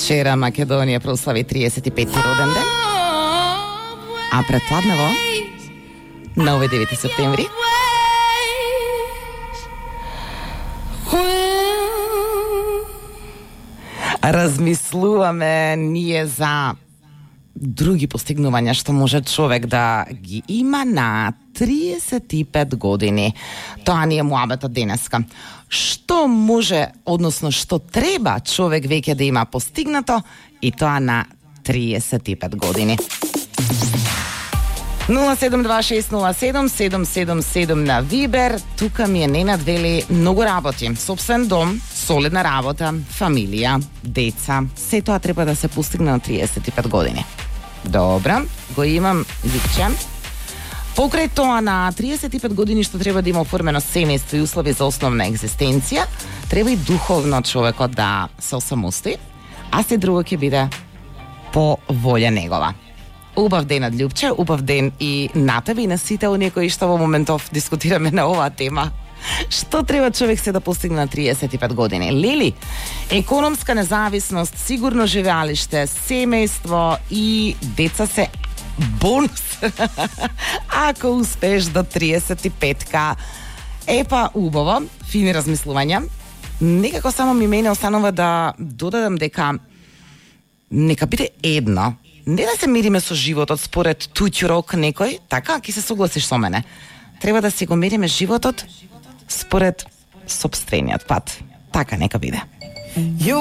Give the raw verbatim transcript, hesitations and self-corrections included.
Вчера Македонија прослави триесет и пети роден ден, а предпладнево, на овој девети септември, размислуваме ние за други постигнувања што може човек да ги има на триесет и пет години. Тоа ни е муабетот денеска. Што може, односно што треба човек веќе да има постигнато и тоа на триесет и пет години. нула седум два шест нула седум седум седум седум на Вибер. Тука ми е Ненад вели многу работи. Собствен дом, солидна работа, фамилија, деца. Се тоа треба да се постигне на триесет и пет години. Добра, го имам ликче. Покрај тоа на триесет и пет години што треба да има оформено семејство и услови за основна екзистенција, треба и духовно човекот да се осамостои, а се друго ќе биде по волја негова. Убав ден, Љупче, убав ден и на тебе и на сите оние кои што во моментов дискутираме на оваа тема. Што треба човек се да постигне на триесет и пет години? Лили, економска независност, сигурно живеалиште, семејство и деца се бонус. Ако успееш до триесет и петка. Епа, убаво, фини размислувања. Некако само ми мене останува да додадам дека нека биде едно. Не да се мериме со животот според туѓ рок некој, така, ќе се согласиш со мене. Треба да си го мериме животот според сопствениот пат. Така нека биде.